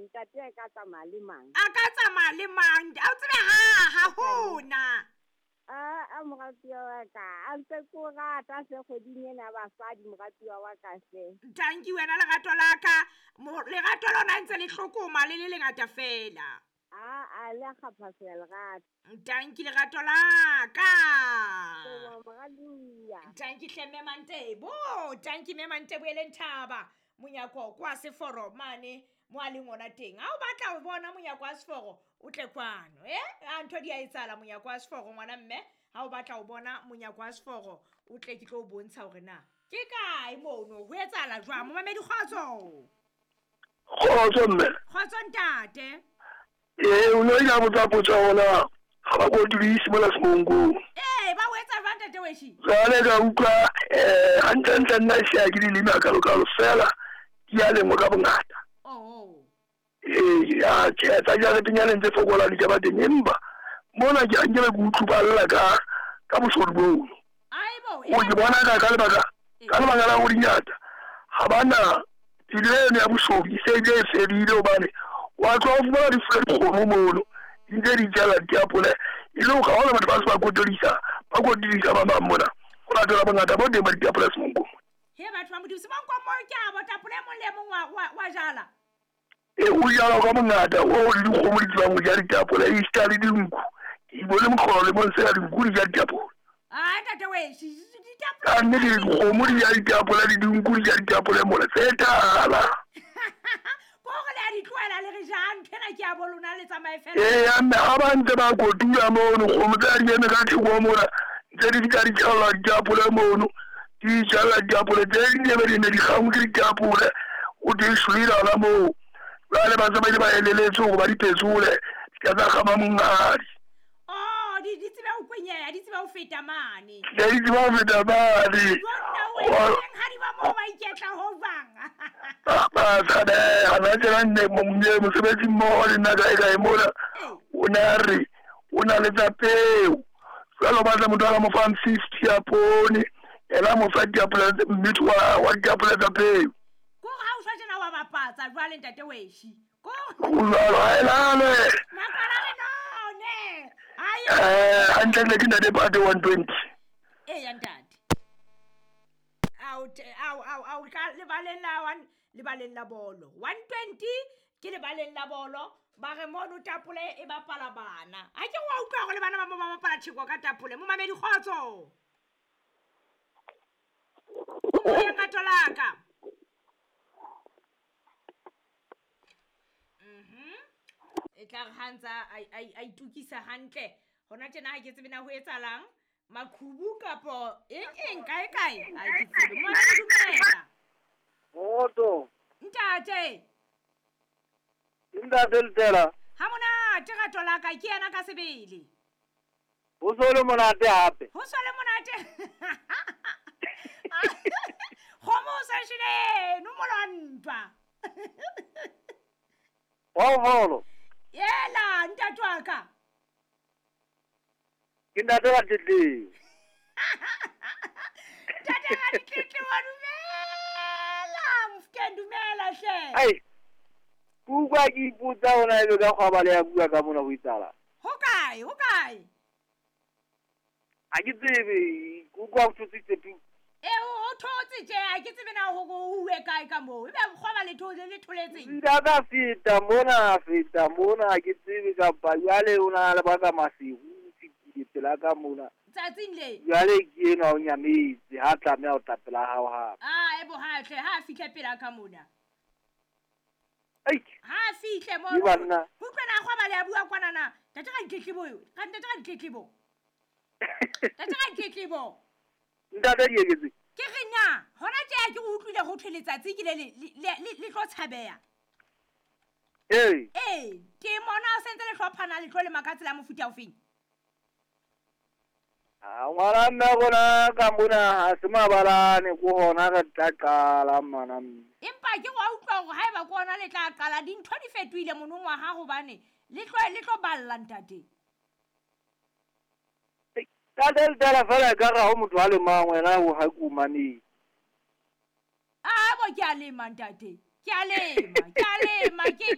Ntate a ka tsamaya le mang? A ka tsamaya le mang? A o tsebe ha ha hona. A moratuwa wa ka, a ntse ke o rata hle kgweding ena ya basadi moratuwa wa ka hle. Tanki wena lerato la ka, lerato lona ntse le hlokoma le le lengata fela. A le a kgaphaseha lerato. Tanki lerato la ka. Moratuwa. Tanki hle mme Mantebo, tanki mme Mantebo e leng thaba. Monyako kwa seforo mane mo a leng ona teng. Ha o batla ho bona monyako wa seforo, o tle kwano. A ntho di a etsahala monyako wa seforo ngwana mme. Ha o batla ho bona monyako wa seforo, o tle ke tlo o bontsha hore na ke kae mono, ho etsahala jwang. Momamedi kgotso. Kgotso mme. Kgotso ntate. O ne o ile a botsa potso ya hona ha ba kotulise mona Semonkong. Ba o etsa jwang ntate Weshi? Jwale ka utlwa hantlentle nna e se ha ke dileme hakalokalo fela di a lengwa ka bongata. Ya tjhe, tsa jaretenyaneng tse fokolang di ka ba teng, empa mona ke nkebe ke utlwuballa ka boshodu bono. O ke bona ka lebaka ka lebaka la hore dingata ha bana pelo eno ya boshodu e se ebile e fedile, hobane wa tloha o fumana difula dikgomo mono di ntse di jala diapole, e le hore ha hona batho ba se ba kotulisa, ba kotulisa ba bang mona ho latela bongata bo teng ba diapole Semonkong. He batho ba Modimo, Semonkong mo ke a bo tapole e mong le e mong wa jala. O jala ka bongata o le dikgomo di tsebang ho ja ditapole, esita le dinku. Ke bone mohlolo le mong sena dinku di ja ditapole. Ah ntate Weshi, ditapole. Ka nnete dikgomo di ja ditapole le dinku di ja ditapole mona tse tala. Ko hore le a di tlohela le re jang ntho ena ke ya bo lona le tsamaye fela. Eya mme ha ba ntse ba kotula mono kgomo tse di eme ka theko mona ntse di fihla di tjhalla ditapole mono, di jalla ditapole tse ding ebe di ne di kgangwe ke ditapole, o di shwele hona moo. Jwale ba se ba ile ba eleletswe hore ba di phetsole di ka tsa kgama monghadi. Oh, di tsebe ho kwenyeha, di tsebe ho feta mane. Di tsebe ho feta mane. Jonna o hadi ba moo ba iketla ho jwang. Ba tshabeha, na tjena nne mosebetsi mmoho le nna kae kae mona. O ne a re o na le tsa peo. Jwale o batla motho a ka mo fang 50 ya poone, yena a mo fa diapole mmitho wa diapole tsa peo. Ko ha o shwa tjena wa bapatsa jwale ntate Weshi. Ko jwalo ha e lale. Makwala re none. Ai. Hantle ntle ke ntate Pate 120. Eya ntate. Ao ao ka lebaleng la one, lebaleng la bolo. 120 ke lebaleng la bolo. Ba re mono tapole e bapala bana. Ha ke wa utlwa hore le bana ba mo ba bapala tjheko ka tapole. Momamedi kgotso. O moyeng rato la ka. E tla re ha ntsa a itukisa hantle. Hona tjena ha ke tsebe na ho etsahalang, maqhubu kapo eng kae kae, ha ke tsebe. Momamedi dumela. Kgotso. Ntate. Ntate Letela. Ha monate rato la ka, ke yena ka sebele. Ho so le monate hape. Ho so le monate. Kgomo o sa shwele, no molwantwa. Wa Yela ntate wa ka. Ke ntate wa Tletlebo. Ntate wa Tletlebo, dumela. Mofokeng dumela hle. Ai. Kuka ke ipotsa hona ebe ka kgwaba le ya bua ka mona ho itsala. Ho kae? Ho kae? Ha ke tsebe, kuka o thotse tsepi. O thotse tje, ha ke tsebe na hore o uwe kae ka moo. Ebe kgwaba le thotse le tholetseng. Nka ka feta mona, ke tsebe kapa jwale o na le baka masiu fitile pela ka mona. Tsatsing le. Jwale ke enwa o nyametse, ha tlameha ho tla pela hao hape. Ah, ebo ha tle, ha fihle pela ka mona. Ai. Ha fihle mo. Utlwa na kgwaba le a bua kwana na. Ntate ga ditletlebo yo. Ntate ga ditletlebo. Ntate ga ditletlebo. Ntate di eketse. Ke re na, hona tje ke o utlwile ho thwe letsatsi ke le tlo tshabeha. Ee. Ke mona o sentse le hlophana le tlo le maka tsela mofuta o feng? Ah, ngwana mme rona ka mona ha se mabalane ko hona re tla qala mana mme. Empa ke wa utlwa hore haeba ko hona le tla qala dintho di fetohile monongwaha hobane le tlo balla ntate. Ka del fela ka ra ho motho a le mang wena ho ha ku mane. Ah bo ke a lema ntate. Ke a lema, ke a lema ke